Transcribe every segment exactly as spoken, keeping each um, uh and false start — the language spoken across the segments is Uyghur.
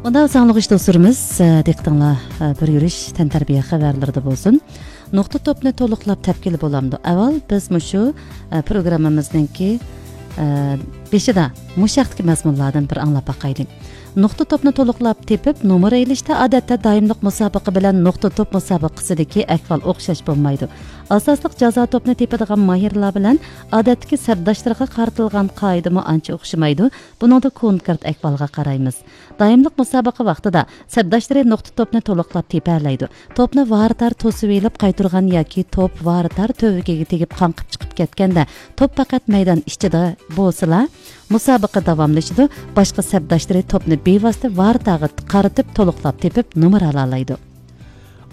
خۇدا ساڭلىغۇچ دوستلىرىمىز، ئە، دىققىتىڭلار، ئە، بىر يۈرۈش تەنتەربىيە خەۋەرلىرىدە بولسۇن. نۇقتا توپنى تولۇقلاپ تەپكىلى بولامدۇ؟ ئەۋۋەل بىز مۇشۇ، ئە، پروگراممىمىزنىڭكى، ئە، بېشىدا مۇشۇ ھەقتىكى مەزمۇنلاردىن بىر ئاڭلاپ باقايلى. نۇقتا توپنى تولۇقلاپ تېپىپ، نومۇر ئېلىشتا ئادەتتە دائىملىق مۇسابىقە بىلەن نۇقتا توپ مۇسابىقىسىدىكى ئەھۋال ئوخشاش بولمايدۇ. ئاساسلىق جازا توپنى تېپىدىغان ماھىرلار بىلەن ئادەتتىكى سەپداشلىرىغا قارىتىلغان قائىدىمۇ ئانچە ئوخشىمايدۇ. بۇنىڭدا كونكرېت ئەھۋالغا قارايمىز. دائىملىق مۇسابىقە ۋاقتىدا سەپداشلىرى نۇقتا توپنى تولۇقلاپ تېپەلەيدۇ. توپنى ۋارىتار توسۇۋېلىپ قايتۇرغان ياكى توپ ۋارىتار تۈۋرۈكىگە تېگىپ قاڭقىپ چىقىپ كەتكەندە، توپ پەقەت مەيدان ئىچىدە بولسىلا، مۇسابىقە داۋاملىشىدۇ. باشقا سەپداشلىرى توپنى بىۋاسىتە ۋارىتاغا قارىتىپ تولۇقلاپ تېپىپ نومۇر ئالالايدۇ.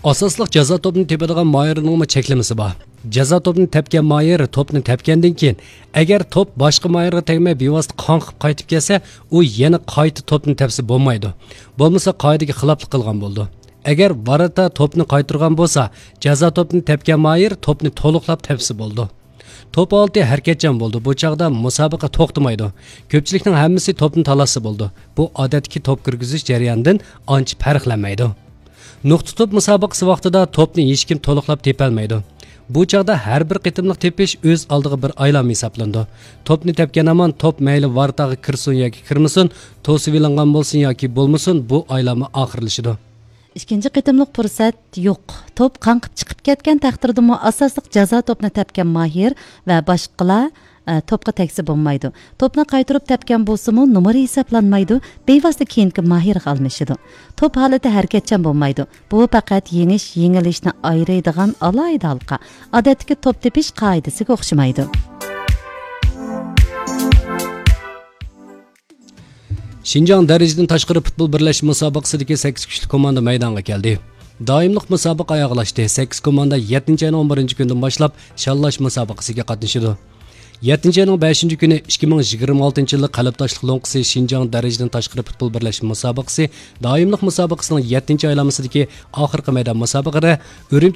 ئاساسلىق جازا توپنى تېپىدىغان ماھىرنىڭمۇ چەكلىمىسى بار. جازا توپنى تەپكەن ماھىر توپنى تەپكەندىن كېيىن، ئەگەر توپ باشقا ماھىرغا تەگمەي بىۋاسىتە قاڭقىپ قايتىپ كەلسە، ئۇ يەنە قايتا توپنى تەپسە بولمايدۇ. بولمىسا قائىدىگە خىلاپلىق قىلغان بولىدۇ. ئەگەر ۋارىتا توپنى قايتۇرغان بولسا، جازا توپنى تەپكەن ماھىر توپنى تولۇقلاپ تەپسە بولىدۇ. توپ ھالىتى ھەرىكەتچان بولىدۇ. بۇ چاغدا مۇسابىقە توختىمايدۇ. كۆپچىلىكنىڭ ھەممىسى توپنى تالاشسا بولىدۇ. بۇ ئادەتتىكى توپ كىرگۈزۈش جەريانىدىن ئانچە پەرقلەنمەيدۇ. نۇقتا توپ مۇسابىقىسى ۋاقتىدا توپنى ھېچكىم تولۇقلاپ تېپەلمەيدۇ. بۇ چاغدا ھەر بىر قېتىملىق تېپىش ئۆز ئالدىغا بىر ئايلانما ھېسابلىنىدۇ. توپنى تەپكەن ھامان توپ مەيلى ۋارىتاغا كىرسۇن ياكى كىرمىسۇن، توسۇۋېلىنغان بولسۇن ياكى بولمىسۇن، بۇ ئايلانما ئاخىرلىشىدۇ. ئىككىنچى قېتىملىق پۇرسەت يوق. توپ قاڭقىپ چىقىپ كەتكەن تەقدىردىمۇ ئاساسلىق جازا توپنى تەپكەن ماھىر ۋە باشقىلار، ئە، توپقا تەگسە بولمايدۇ. توپنى قايتۇرۇپ تەپكەن بولسىمۇ نومۇر ھېسابلانمايدۇ، بىۋاسىتە كېيىنكى ماھىرغا ئالمىشىدۇ. توپ ھالىتى ھەرىكەتچان بولمايدۇ. بۇ پەقەت يېڭىش، يېڭىلىشنى ئايرىيدىغان ئالاھىدە ھالقا. ئادەتتىكى توپ تېپىش قائىدىسىگە ئوخشىمايدۇ. شىنجاڭ دەرىجىدىن تاشقىرى پۇتبول بىرلەشمە مۇسابىقىسىدىكى سەككىز كۈچلۈك كوماندا مەيدانغا كەلدى. دائىملىق مۇسابىقە ئاياغلاشتى. سەككىز كوماندا يەتتىنچى ئاينىڭ ئون بىرىنچى كۈنىدىن باشلاپ شاللاش مۇسابىقىسىگە قاتنىشىدۇ. يەتتىنچى ئاينىڭ بەشىنچى كۈنى ئىككى مىڭ يىگىرمە ئالتىنچى يىللىق قەلبداشلىق لوڭقىسى شىنجاڭ دەرىجىدىن تاشقىرى پۇتبول بىرلەشمە مۇسابىقىسى دائىملىق مۇسابىقىسىنىڭ يەتتىنچى ئايلانمىسىدىكى ئاخىرقى مەيدان مۇسابىقىدە ئۈرۈمچى